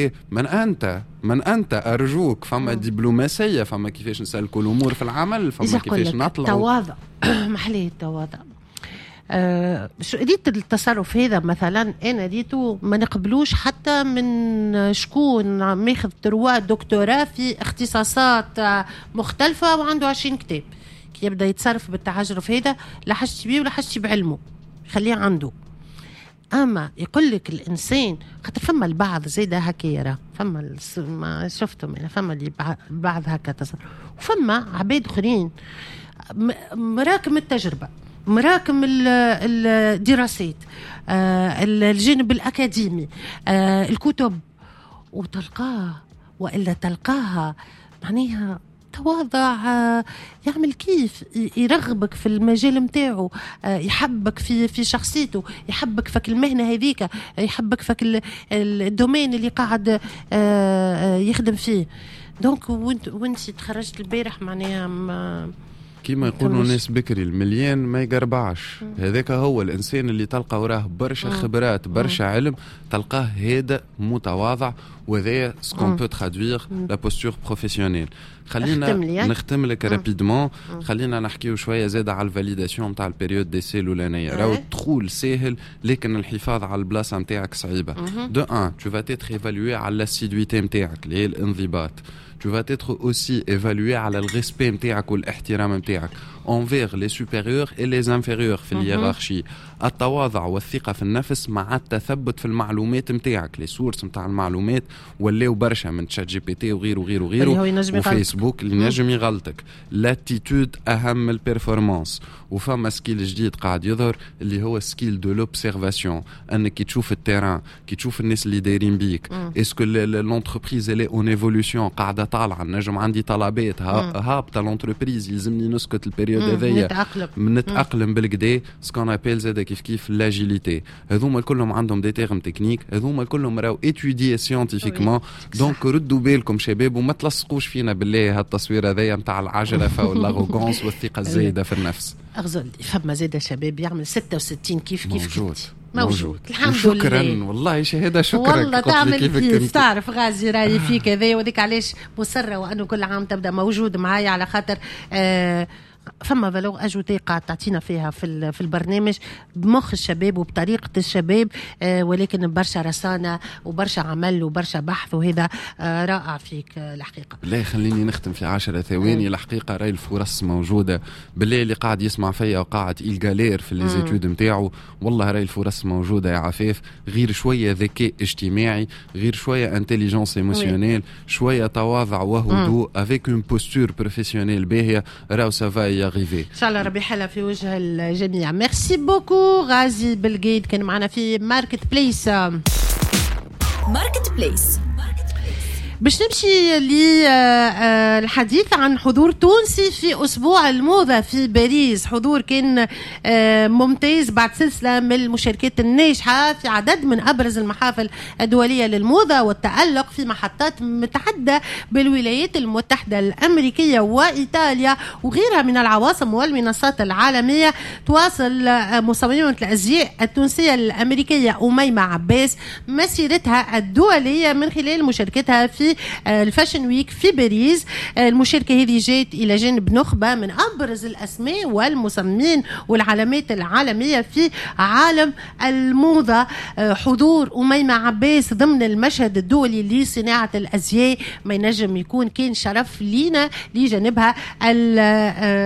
وكذا. من انت؟ من انت؟ ارجوك، فما دبلوماسيه، فما كيفاش نسلكوا الامور في العمل، فما كيفاش نطلعوا. تواضع، محليه التواضع. شو ريت التصرف هذا مثلا، انا ريتو ما نقبلوش حتى من شكون ماخذ trois doctorats في اختصاصات مختلفة وعنده 20 كتاب. كي يبدا يتصرف بالتعجرف هذا، لا حاجتي بيه ولا حاجتي بعلمه، خليه عنده. اما يقول لك الانسان، خاطر فما البعض زيد هكا يرى، فما ما شفتهم انا، فما اللي بعض هكا تصرف، وفما عباد اخرين مراكم التجربه، مراكم الدراسات، الجانب الاكاديمي، الكتب، وتلقاه والا تلقاها معناها تواضع، يعمل كيف يرغبك في المجال نتاعو، يحبك في شخصيته، يحبك في المهنة هذيك، يحبك في ال domaine اللي قاعد يخدم فيه. donc وانت تخرجت البارح معناها كيما يقولوا الناس بكري، المليان ما يقربعش. هذاك هو الانسان اللي تلقى وراه برشا خبرات، برشا علم، تلقاه هادئ متواضع، وهذا ce qu'on peut traduire la posture professionnelle. خلينا نختم لك rapidement، خلينا نحكيو شوية زاد على ال validation تاع ال période d'essai الاولانيه. راهو الدخول ساهل لكن الحفاظ على البلاصة نتاعك صعيبه. de un، tu vas être évalué على l'assiduité نتاعك اللي هي الانضباط. tu vas être aussi évalué على ال respect نتاعك والاحترام نتاعك envers les supérieurs et les inférieurs في ال hiérarchie. التواضع والثقة في النفس مع التثبت في المعلومات نتاعك. les sources نتاع المعلومات ولاو برشا، من ChatGPT وغيره وغيره وغيره وفيسبوك، اللي نجم يغلطك. l'attitude اهم من ال performance. وفما skill جديد قاعد يظهر اللي هو skill de l'observation، انك كي تشوف ال terrain، كي تشوف الناس اللي دايرين بيك، est-ce que l'entreprise elle est en évolution، قاعدة طالعه، نجم عندي طلبات، هابطة l'entreprise، يلزمني نسكت ال période هذيا، نتاقلم. نتاقلم بالقدا، ce qu'on appelle زاد كيف كيف l'agilité. هذوما كلهم عندهم des termes techniques، هذوما كلهم راهو étudiés scientifiquement. donc ردوا بالكم شباب وما تلصقوش فينا بالله هالتصوير هذايا نتاع العجرفه وال arrogance والثقة الزايدة في النفس. اغزل، فما زاد شباب يعمل 66 كيف كيف. موجود. موجود، الحمد شكرا لله. والله شهاده، شكرا. والله تعمل كيف، تعرف غازي رايي فيك هذا، وذيك علاش مصرة وانه كل عام تبدا موجود معايا، على خاطر فما valeur ajoutée قاعد تعطينا فيها في البرنامج بمخ الشباب وبطريقة الشباب، ولكن برشا رصانه وبرشا عمل وبرشا بحث، وهذا رائع فيك الحقيقه. لا، خليني نختم في 10 ثواني. الحقيقة راي الفرص موجوده. بالله اللي قاعد يسمع فيا وقاعد il galère في les études نتاعو، والله راي الفرص موجودة يا عفاف، غير شوية ذكاء اجتماعي، غير شوية intelligence émotionnelle، شوية تواضع وهدوء avec une posture professionnelle باهيه، راهو ça va y arriver. ان شاء الله ربي يحلها في وجه الجميع. merci beaucoup غازي بالقيد، كان معنا في Market Place. Market Place. باش نمشي للحديث عن حضور تونسي في أسبوع الموضة في باريس، حضور كان ممتاز بعد سلسلة من المشاركات الناجحة في عدد من أبرز المحافل الدولية للموضة والتألق في محطات متعددة بالولايات المتحدة الأمريكية وإيطاليا وغيرها من العواصم والمنصات العالمية. تواصل مصممة الأزياء التونسية الأمريكية أميمة عباس مسيرتها الدولية من خلال مشاركتها في ال Fashion Week في باريس. المشاركة هذه جات إلى جانب نخبة من أبرز الأسماء والمصممين والعلامات العالمية في عالم الموضة. حضور أميمة عباس ضمن المشهد الدولي لصناعة الأزياء ما ينجم يكون كان شرف لينا لجانبها.